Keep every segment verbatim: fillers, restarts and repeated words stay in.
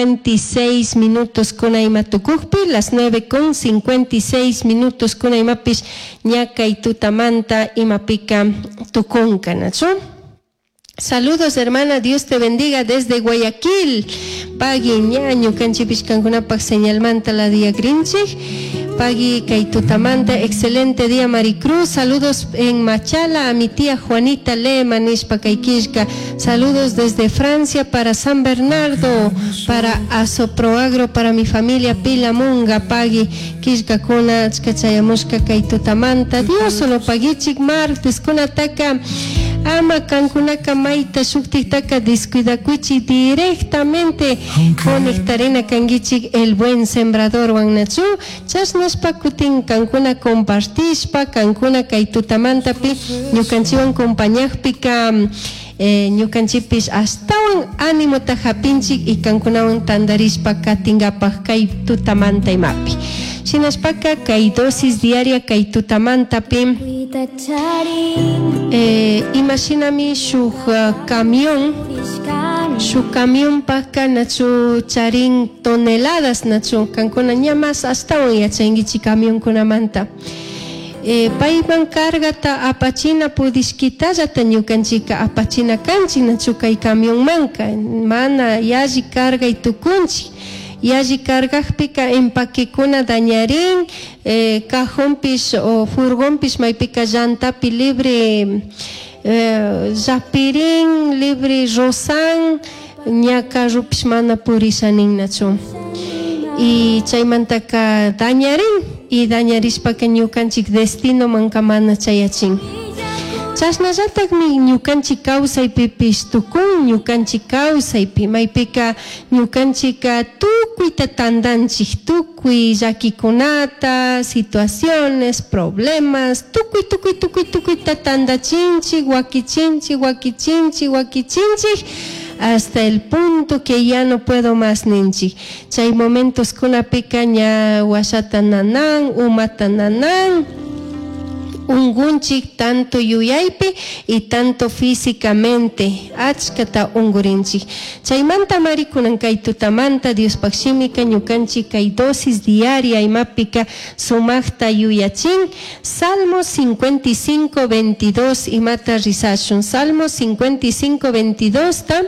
cincuenta y seis minutos kuna ima tukukpi, las nueve con cincuenta y seis minutos kuna imapish ña kay tutamanta imapika tukunka, nachu? Saludos, hermana, Dios te bendiga desde Guayaquil. Pagui ñaño kanchipish kankunapak señalmanta la día grinchik. Pagui kay tutamanta, excelente día Maricruz. Saludos en Machala a mi tía Juanita Lema nishpa kay killka. Saludos desde Francia para San Bernardo, para Asoproagro, para mi familia Pilamunga. Pagui killkakuna achkachayamushka kay tutamanta. Dios solo paguichik martes kunataka. Ama kankunaka mayta shuktiktaka descuidakuichik directamente conectarena kankichik el buen sembrador wannachu chashnashpa kutin kankuna compartishpa kankuna kay tutamantapi ñukanchiwan compañajpika, eh, ñukanchipis astawan ánimota hapinchik y kankunawan tandarishpa katingapak kay tutamanta imapi. Shinashpaka kay dosis diaria kay tutamantapi, eh, imashinami shuk, uh, camión, shuk camión paka nachu charin toneladas nachu kankuna ña mas astawan yachankichik camionkunamanta. Eh, payman cargata apachina pudishkitallata ñukanchika apachina kanchik nachu kay camionmanka mana yalli cargay tukunchik. Yalli cargajpika empaquekuna dañarín, eh, cajonpish o furgonpish maypika llantapi libre, eh, zapirín, libre rosan, ña carrupish mana purishanin nachu. Y chaymantaka dañarín, y dañarishpaka ñukanchik destino manka mana chayachin. Chashnallatagmi ñukanchik kawsaypipish tukun, ñukanchik kawsaypi, maypika ñukanchika tukuyta tandanchik, tukuy llakikunata, situaciones, problemas, tukuy, tukuy, tukuy, tukuyta tandachinchik, wakichinchik, wakichinchik, wakichinchik, hasta el punto que ya no puedo más ninchik. Chay momentos kunapika ña washata nanan, umata nanan, ungunchik tanto yuyaypi y tanto físicamente achkata ungurinchik. Chaymanta mari kunan kay tutamanta Diospaq shimika ñukanchik kay dosis diaria imapika sumaqta yuyachin. Salmo cincuenta y cinco, veintidós imata rizashun. Salmo cincuenta y cinco, veintidós ta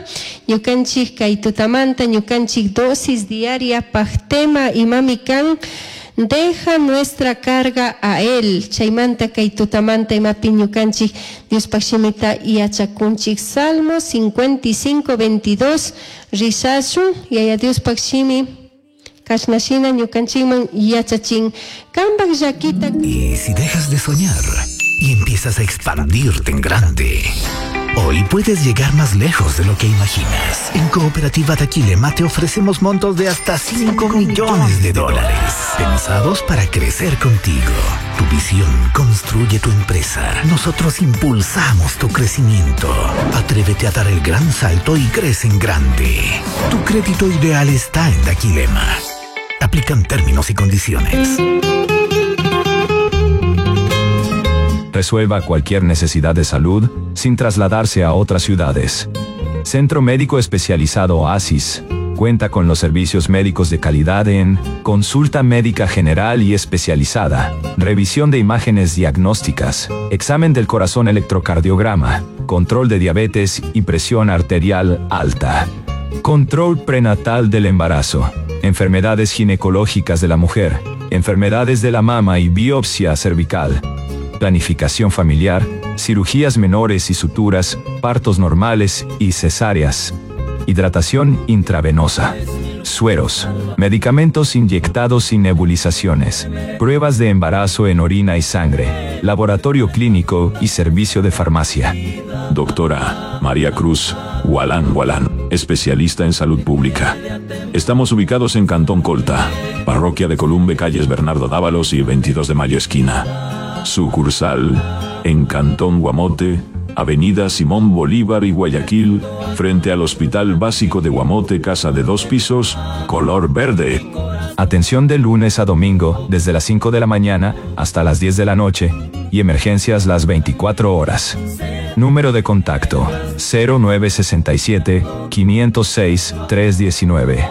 ñukanchik kay tutamanta ñukanchik dosis diaria paq tema imami kan deja nuestra carga a él. Chaymanta kay tutamanta imapi ñukanchik Diospaq shimita yachakunchik. Salmo cincuenta y cinco, veintidós rizashun. Yaya Diospaq shimi kashnashina ñukanchikman yachachin. Kambak llakita. Y si dejas de soñar y empiezas a expandirte en grande, hoy puedes llegar más lejos de lo que imaginas. En Cooperativa Daquilema te ofrecemos montos de hasta cinco millones de dólares, pensados para crecer contigo. Tu visión construye tu empresa. Nosotros impulsamos tu crecimiento. Atrévete a dar el gran salto y crece en grande. Tu crédito ideal está en Daquilema. Aplican términos y condiciones. Resuelva cualquier necesidad de salud sin trasladarse a otras ciudades. Centro Médico Especializado Oasis cuenta con los servicios médicos de calidad en consulta médica general y especializada, revisión de imágenes diagnósticas, examen del corazón electrocardiograma, control de diabetes y presión arterial alta, control prenatal del embarazo, enfermedades ginecológicas de la mujer, enfermedades de la mama y biopsia cervical, planificación familiar, cirugías menores y suturas, partos normales y cesáreas, hidratación intravenosa, sueros, medicamentos inyectados y nebulizaciones, pruebas de embarazo en orina y sangre, laboratorio clínico y servicio de farmacia. Doctora María Cruz Gualán Gualán, especialista en salud pública. Estamos ubicados en Cantón Colta, parroquia de Columbe, calles Bernardo Dávalos y veintidós de Mayo esquina. Sucursal en Cantón Guamote, Avenida Simón Bolívar y Guayaquil, frente al Hospital Básico de Guamote, casa de dos pisos, color verde. Atención de lunes a domingo, desde las cinco de la mañana hasta las diez de la noche, y emergencias las veinticuatro horas. Número de contacto, cero nueve sesenta y siete, quinientos seis, tres diecinueve.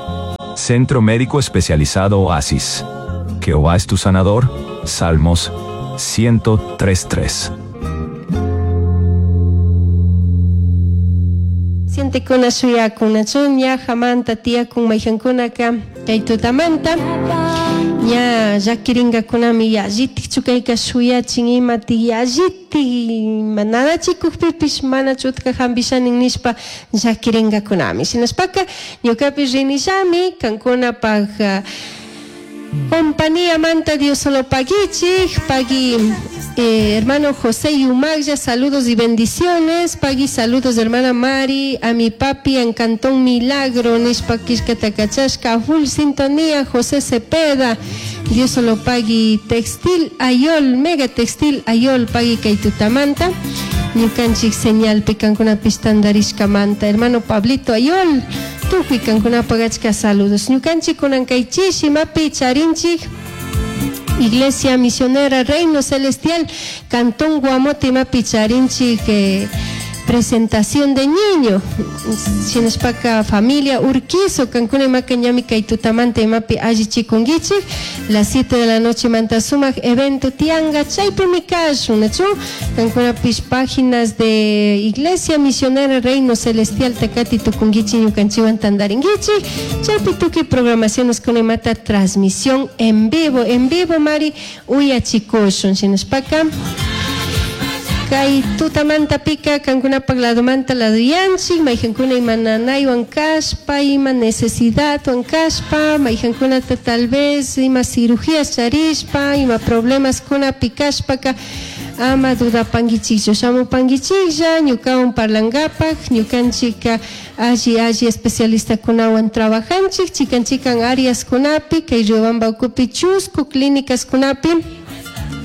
Centro Médico Especializado Oasis. Jehová es tu sanador. Salmos ciento tres tres. Sientekuna shuyakunachu ña hamanta tiyakun mayhankunaka kay tutamanta ña llakirinkakunami yallitikchu kayka shuyachin imati yallitik nanachikukpipish mana chutka hampishanin nishpa llakirinkakunami. Shinashpaka ñukapish rinillami kankunapaj compañía manta Dios solo paguichik, pagui eh, hermano José Yumagya, saludos y bendiciones, pagui saludos hermana Mari, a mi papi en Cantón Milagro, nishpa kishkatakachashka, full sintonía, José Cepeda, Dios solo pagui Textil Ayol, Mega Textil Ayol, pagui kaitutamanta, ñukanchik señal pikankunapish tandarishkamanta, hermano Pablito Ayol, tukuy kankunapaq achka saludos. Ñukanchik kunan kaychish imapi charinchik Iglesia Misionera Reino Celestial Cantón Guamote imapi charinchik eh, presentación de niño shinashpaka familia Urquizo kankuna imaka ñami kay tutamanta imapi allichikunkichik las siete de la noche manta sumak evento tianga chaypimi kashun nachu kankunapish páginas de Iglesia Misionera Reino Celestial takati tukunkichik ñukanchikwan tandarinkichik chaypi tukuy programaciones kuna imata transmisión en vivo en vivo mari uyachikushun shinashpaka kay tutamanta pika kankunapaq ladomanta laduyanchik mayhankuna ima nanaywan kashpa ima necesidadwan kashpa mayhankunata tal vez ima cirugías charishpa ima problemas kunapi kashpaka ama dudapankichikchu shamupankichiklla ñukawan parlankapaq ñukanchika alli alli especialistakunawan trabajanchik chikan chikan áreas kunapi kay Riobamba ukupi chusku clínicas kunapi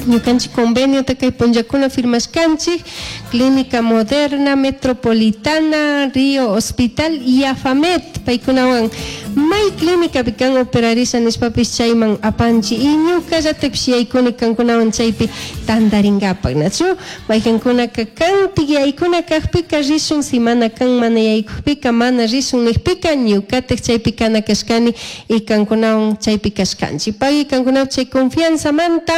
ñukanchik convenio kay punllakuna firmashkanchik Clínica Moderna Metropolitana Río Hospital y AFAMET paykunawan may clínica pikan operarisha nishpapis chayman apanchi y ñukallatakpish yaykuni kankunawan chaypi tantarinkapak nachu maykankunaka kantik yaykuna kajpika rishun si mana kan mana yaykukpika mana rishun nijpika ñukatak chaypi kana kashkani y kankunawan chaypi kashkanchik pagui kankunawan chay confianzamanta.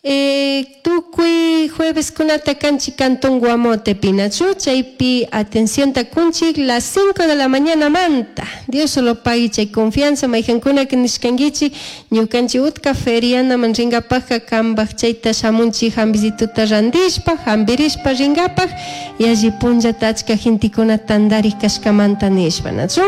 Eh, tukuy jueves kunata kanchi Cantón Guamote pinachu chaypi atención takunchik las cinco de la mañana manta Dios solo pagui chay confianza mayhankuna que nishkankichik ñukanchik utka feriana man rinkapajka kambaj chayta shamunchik hambisituta randishpa hambirishpa rinkapaj y alli punllata achka gentekuna tantarik kashkamanta nishpa nachu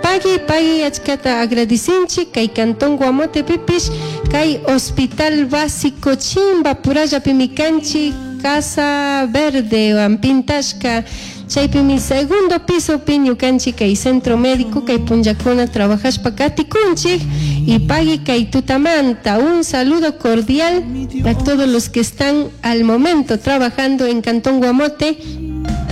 pagui pagui achkata agradecинchik kay Cantón Guamote pipish kay Hospital Básico Chimba purallapimi kanchik Casa Verde pintashka chaypimi segundo piso pi ñukanchik kay centro médico kay punllakuna trabajashpa katikunchik y pagui kay tutamanta un saludo cordial a todos los que están al momento trabajando en Cantón Guamote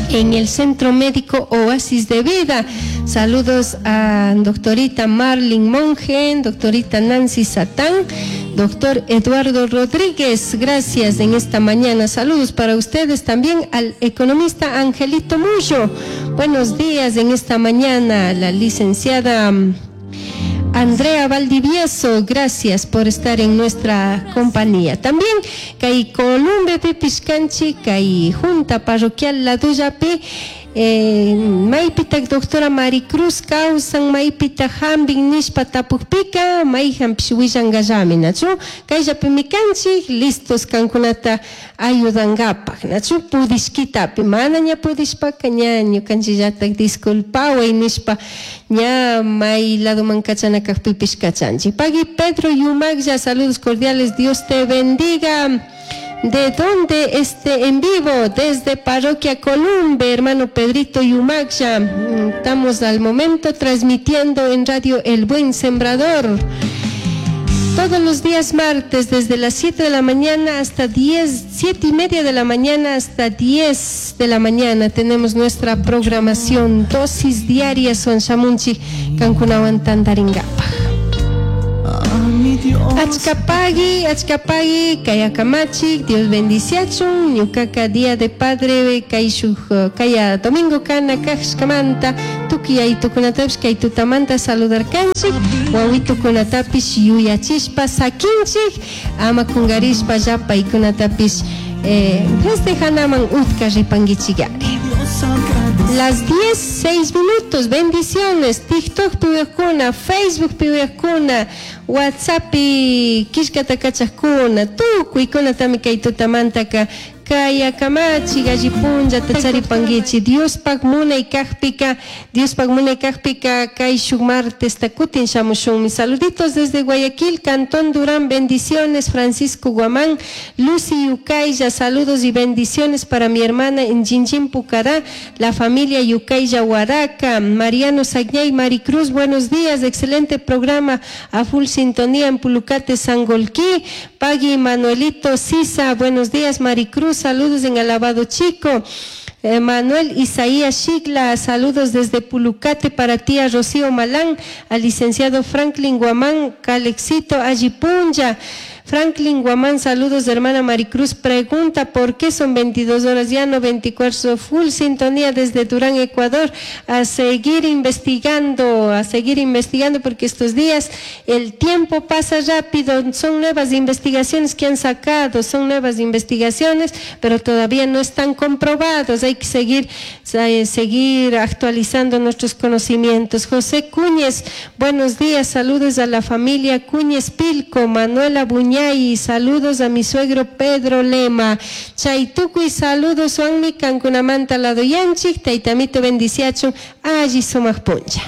en el Centro Médico Oasis de Vida. Saludos a doctorita Marlene Monge, doctorita Nancy Satán, doctor Eduardo Rodríguez, gracias en esta mañana. Saludos para ustedes también al economista Angelito Mullo. Buenos días en esta mañana, la licenciada Andrea Valdivieso, gracias por estar en nuestra compañía. También kay Columbe Pipishkanchi, kay Junta Parroquial La Duyapi, eh, maypitak doctora Maricruz kawsan maypita hambin nishpa tapukpika mayhanpish willankallami nachu kayllapimi kanchik listos kankunata ayudankapak nachu pudishkitapi mana ña pudishpaka ña ñukanchikllatak disculpaway nishpa ña may ladoman kachana kajpipish kachanchik. Pagui Pedro Yumaglla, saludos cordiales, Dios te bendiga. ¿De dónde este en vivo? Desde Parroquia Columbe, hermano Pedrito Yumaxa. Estamos al momento transmitiendo en Radio El Buen Sembrador. Todos los días martes, desde las siete de la mañana hasta diez, siete y media de la mañana hasta diez de la mañana, tenemos nuestra programación, dosis diaria, son Shamunchi, Kankunawan Tantaringapa. Achkapagui, achkapagui, kayakamachi, Dios bendiciachun, ñukaka día de padre, kay shuk, kaya domingo kana kashkamanta, tukuy yayitukunatapish kay tutamanta saludarkanchik, wawitukunatapish yuyachishpa sakinchik, ama kungarishpa llapaykunatapish eh, festejanaman utka ripanguichigari. Las diez, seis minutos, bendiciones, TikTok piwekuna, Facebook piwekuna, WhatsApp kishkata kachakuna, tukuykuna kay tutamantaka kaya kamachi gallipunlla tacharipanguichi Diospaj munay kajpika, Diospaj munay kajpika kay shuk martes takutin shamushunmi. Saluditos desde Guayaquil, Cantón Durán, bendiciones, Francisco Guamán, Lucy Yucaya, saludos y bendiciones para mi hermana en Jinjin Pucará, la familia Yucaya Huaraca, Mariano Sagnay, Maricruz, buenos días, excelente programa, a full sintonía en Pulucate, Sangolquí, Pagui Manuelito Sisa, buenos días, Maricruz, saludos en Alabado Chico. Eh, Manuel Isaías Shigla, saludos desde Pulucate para ti a Rocío Malán, al licenciado Franklin Guamán, Calexito Ayipunja. Franklin Guamán, saludos de hermana Maricruz, pregunta por qué son veintidós horas, ya no veinticuatro, full sintonía desde Durán, Ecuador, a seguir investigando, a seguir investigando porque estos días el tiempo pasa rápido, son nuevas investigaciones que han sacado, son nuevas investigaciones, pero todavía no están comprobados, hay que seguir, eh, seguir actualizando nuestros conocimientos. José Cúñez, buenos días, saludos a la familia Cúñez Pilco, Manuela Buñay, y saludos a mi suegro Pedro Lema. Chaytukuy saludos wanmi kankunamanta ladoyanchik, taytamito bendiciachun, alli sumaq puncha.